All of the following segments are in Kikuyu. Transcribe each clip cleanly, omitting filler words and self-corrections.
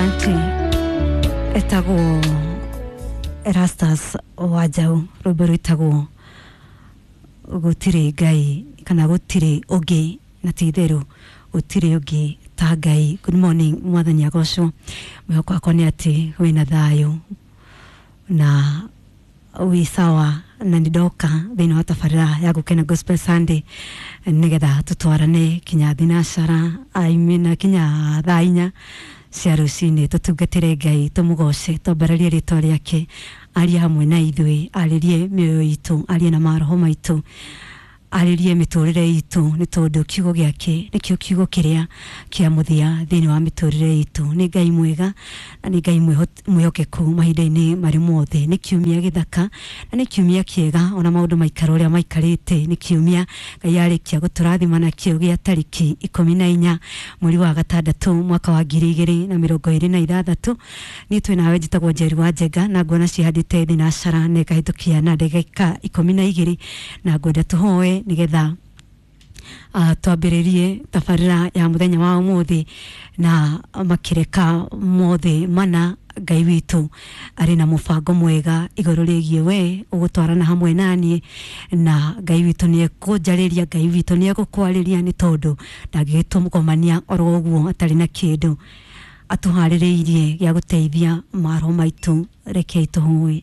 Asante. Etagwo Erastus Wanjaũ, rwĩmbo rwĩtagwo gũtirĩ Ngai kana gũtirĩ ũngĩ, na ti itherũ gũtirĩ ũngĩ ta Ngai. Good morning, mwathani agocwo. Mwĩhoko wakwa nĩ atĩ wĩna thayũ na wĩ sawa, na nĩ ndoka thĩinĩ wa tabarĩra ya Gũkena Gospel Sunday nĩgetha tũtwarane kinya thinacara aimina kinya thaa 4 cia rũcinĩ, tũtungatĩre Ngai, tũmũgoce, twambararie rĩtwa rĩake, arie hamwe na ithuĩ, arĩrie mĩoyo itũ, arie na maroho maitũ, arĩrie mĩtũrĩre itũ, nĩ tondũ kiugo gĩake nĩkĩo kiugo kĩrĩa kĩa mũthia thĩinĩ wa mĩtũrĩre itũ. Nĩ Ngai mwega na nĩ Ngai mwĩhokeku mahinda-inĩ marĩ mothe. Nĩ kiumia gĩthaka na nĩ kiumia kĩega, ona maũndũ maikara ũrĩa maikarĩte. Nĩ kiumia Ngai arĩkia gũtũrathima nakĩo gĩa tarĩki 14 mweri wa gatandatũ mwaka wa 2026. Niĩ twĩ nawe, njĩtagwo Njeri wa Njenga, na nguona cihandĩte thinacara na ĩkahĩtũkia na ndagĩka 12, na ngwenda tũhoe nĩgetha twambĩrĩrie tabarĩra ya mũthenya wa ũmũthĩ. Na makĩreka mothe mana, Ngai witũ arĩ na mũbango mwega igũrũ rĩgiĩ we ũgũtwarana hamwe naniĩ, na Ngai witũ nĩ ekũnjarĩria, Ngai witũ nĩ egũkwarĩria, nĩ tondũ ndangĩgĩtũgomania oro ũguo atarĩ na kĩndũ atũharĩrĩirie gĩa gũteithia maroho maitũ. Rekei tũhoe.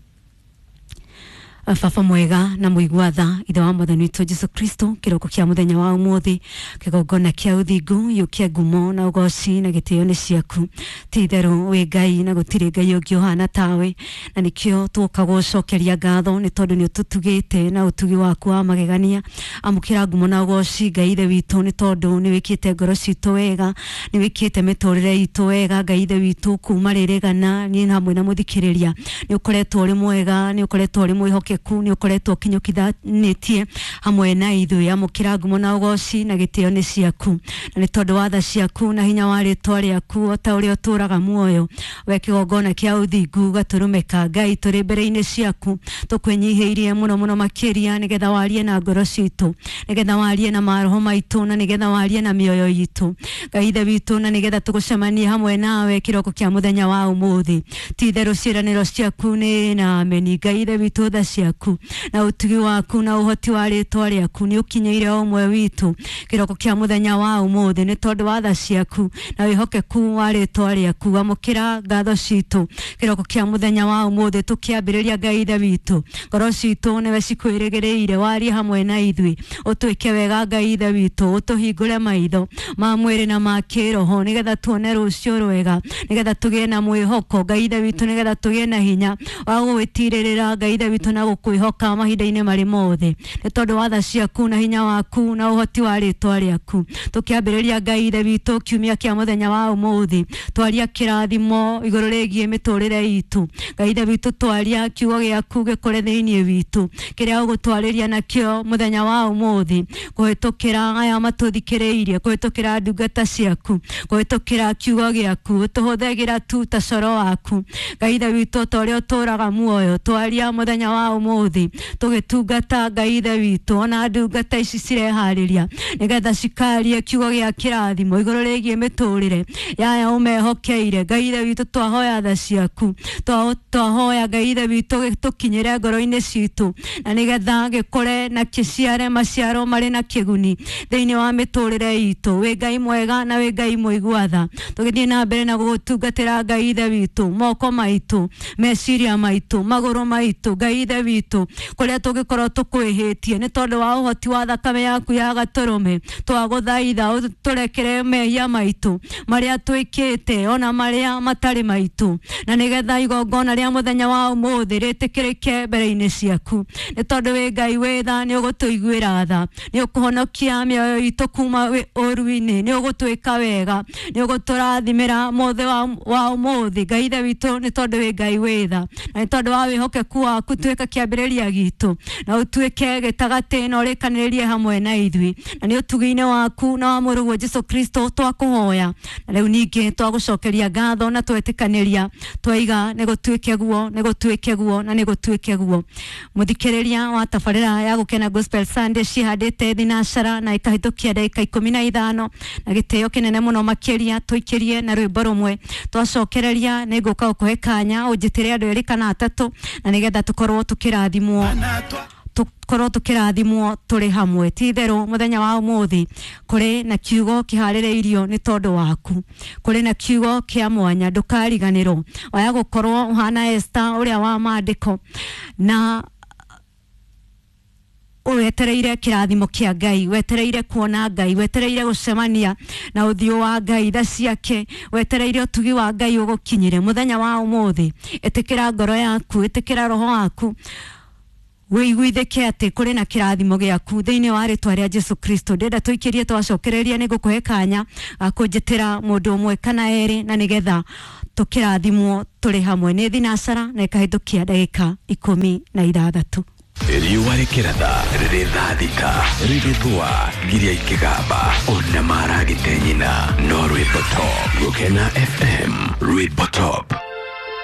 Baba mwega na mũigua tha, ithe wa mwathani witũ Jesu Kristo, kĩroko kĩa mũthenya wa ũmũthĩ, kĩgongona kĩa ũthingu, yũkia ngumo na ũgoci na gĩtĩo nĩ ciaku. Ti itherũ wĩ Ngai na gũtirĩ Ngai ũngĩ ũhana tawe, na nĩkĩo tũka gũcokeria ngatho, nĩ tondũ nĩ ũtũtugĩte na ũtugi waku wa magegania. Amũkĩra ngumo na ũgoci, Ngai ithe witũ, nĩ tondũ nĩ wĩkĩte ngoro citũ wega, nĩ wĩkĩte mĩtũrĩre itũ wega, Ngai ithe witũ, kuma rĩrĩgana niĩ hamwe na mũthikĩrĩria. Nĩ ũkoretwo ũrĩ mwega, nĩ ũkoretwo ũrĩ mwĩhokeku, nĩ ũkoretwo ũkinyũkithanĩtie hamwe na ithuĩ. Amũkĩra ngumo na ũgoci na gĩtĩo nĩ ciaku, na nĩ tondũ wa tha ciaku na hinya wa rĩtwa rĩaku, o ta ũrĩa ũtũũraga muoyo, we kĩgongona kĩa ũthingu gatũrũme ka Ngai, tũrĩ mbere-inĩ ciaku tũkwĩnyihĩirie mũno mũno makĩria, nĩgetha warie na ngoro citũ, nĩgetha warie na maroho maitũ, na nĩgetha warie na mĩoyo itũ, Ngai ithe witũ, na nĩgetha tũgũcemanie hamwe nawe kĩroko kĩa mũthenya wa ũmũthĩ. Ti itherũ ciĩranĩro ciaku nĩ na ameni. Ngai ithe witũ, tha ciaku na ũtugi waku na ũhoti wa rĩtwa rĩaku nĩ ũkinyĩire o ũmwe witũ kĩroko kĩa mũthenya wa ũmũthĩ, nĩ tondũ wa tha ciaku na wĩhokeku wa rĩtwa rĩaku. Amũkĩra ngatho citũ kĩroko kĩa mũthenya wa ũmũthĩ tũkĩambĩrĩria. Ngai ithe witũ, ngoro citũ nĩwe cikwĩrĩgĩrĩire, warie hamwe na ithuĩ, ũtwĩke wega, Ngai ithe witũ, ũtũhingũre maitho ma mwĩrĩ na ma kĩroho, nĩgetha tuone rũciũ rwega, nĩgetha tũgĩe na mwĩhoko, Ngai ithe witũ, nĩgetha tũgĩe na hinya wa gũgwĩtirĩrĩra, Ngai ithe witũ, na gũkwĩhoka mahinda-inĩ marĩ mothe, nĩ tondũ wa tha ciaku na hinya waku na ũhoti wa rĩtwa rĩaku. Tũkĩambĩrĩria, Ngai ithe witũ, kiumia kĩa mũthenya wa ũmũthĩ, twaria kĩrathimo igũrũ rĩgiĩ mĩtũrĩre itũ. Ngai ithe witũ, twaria kiugo gĩaku gĩkũre thĩinĩ witũ, kĩrĩa ũgũtwarĩria nakĩo mũthenya wa ũmũthĩ kũhĩtũkĩra aya matũthikĩrĩirie, kũhĩtũkĩra ndungata ciaku, kũhĩtũkĩra kiugo gĩaku. Ũtũhũthagĩra tu ta coro waku, Ngai ithe witũ, ta ũrĩa ũtũũraga muoyo. Twaria mũthenya wa ũmũthĩ tũgĩtungata, Ngai ithe witũ, ona ndungata ici cireharĩria nĩgetha cikarie kiugo gĩa kĩrathimo igũrũ rĩgiĩ mĩtũrĩre yaya ũmehokeire. Ngai ithe witũ, twahoya tha ciaku, twahoya, Ngai ithe witũ, gĩtũkinyĩre ngoro-inĩ citũ, na nĩgetha gĩkũre na kĩciare maciaro marĩ na kĩguni thĩinĩ wa mĩtũrĩre itũ. Wĩ Ngai mwega na wĩ Ngai mũigua tha. Tũgĩthiĩ na mbere na gũgũtungatĩra, Ngai ithe witũ, moko maitũ, meciria maitũ, magũrũ maitũ, Ngai ithe witũ, kũrĩa tũngĩkorwo tũkwĩhĩtie, nĩ tondũ wa ũhoti wa thakame yaku ya gatũrũme, twagũthaitha ũtũrekere mehia maitũ marĩa twĩkĩte ona marĩa matarĩ maitũ, na nĩgetha igongona rĩa mũthenya wa ũmũthĩ rĩtĩkĩrĩke mbere-inĩ ciaku, nĩ tondũ wĩ Ngai wĩ tha. Nĩ ũgũtũiguĩra tha, nĩ ũkũhonokia mĩoyo itũ kuma ũru-inĩ, nĩ ũgũtwĩka wega, nĩ ũgũtũrathimĩra mũthĩ wa ũmũthĩ, Ngai ithe witũ, nĩ tondũ wĩ Ngai wĩ tha na nĩ tondũ wa wĩhokeku waku. Tuĩka kĩa kĩambĩrĩria gitũ na ũtuĩke gĩtagatĩ na ũrĩkanĩrĩrie hamwe na ithuĩ, na nĩ ũtugi-inĩ waku na wa mũrũguo Jesu Kristo twakũhoya, na rĩu ningĩ twagũcokeria ngatho na twetĩkanĩria twaiga nĩ gũtuĩke guo, nĩ gũtuĩke guo na nĩ gũtuĩke guo. Mũthikĩrĩria wa tabarĩra ya Gũkena Gospel Sunday cihandĩte thinacara na ikahĩtũkia ndagĩka 15, na gĩtĩo kĩnene mũno makĩria tũikĩrie na rwĩmbo rũmwe. Twacokereria nĩ ngũka gũkũhe kanya ũnjĩtĩre andũ erĩ kana atatũ, na nĩgetha tũkorwo tũkĩrathimwo, tũkorwo tũkĩrathimwo tũrĩ hamwe. Ti itherũ mũthenya wa ũmũthĩ kũrĩ na kiugo kĩharĩrĩirio nĩ tondũ waku, kũrĩ na kiugo kĩa mwanya, ndũkariganĩrwo. Waya gũkorwo ũhana Esther ũrĩa wa maandĩko na wetereire kĩrathimo kĩa Ngai, wetereire kuona Ngai, wetereire gũcemania na ũthiũ wa Ngai, tha ciake, wetereire ũtugi wa Ngai ũgũkinyire mũthenya wa ũmũthĩ. Ĩtĩkĩra ngoro yaku, ĩtĩkĩra roho waku, wĩiguithĩke atĩ kũrĩ na kĩrathimo gĩaku thĩinĩ wa rĩtwa rĩa Jesu Kristo. Ndĩrenda tũikĩrie, twacokereria nĩ ngũkũhe kanya ga kũnjĩtĩra mũndũ ũmwe kana erĩ, na nĩgetha tũkĩrathimwo tũrĩ hamwe. Nĩ thinacara na ĩkahĩtũkia ndagĩka 16. Riũa rĩkĩratha, rĩrĩ thaa 6, rĩrĩthũa, ngiria ikĩgamba, ona maragĩte nyina, no rwĩmbo top. Gũkena FM, rwĩmbo top.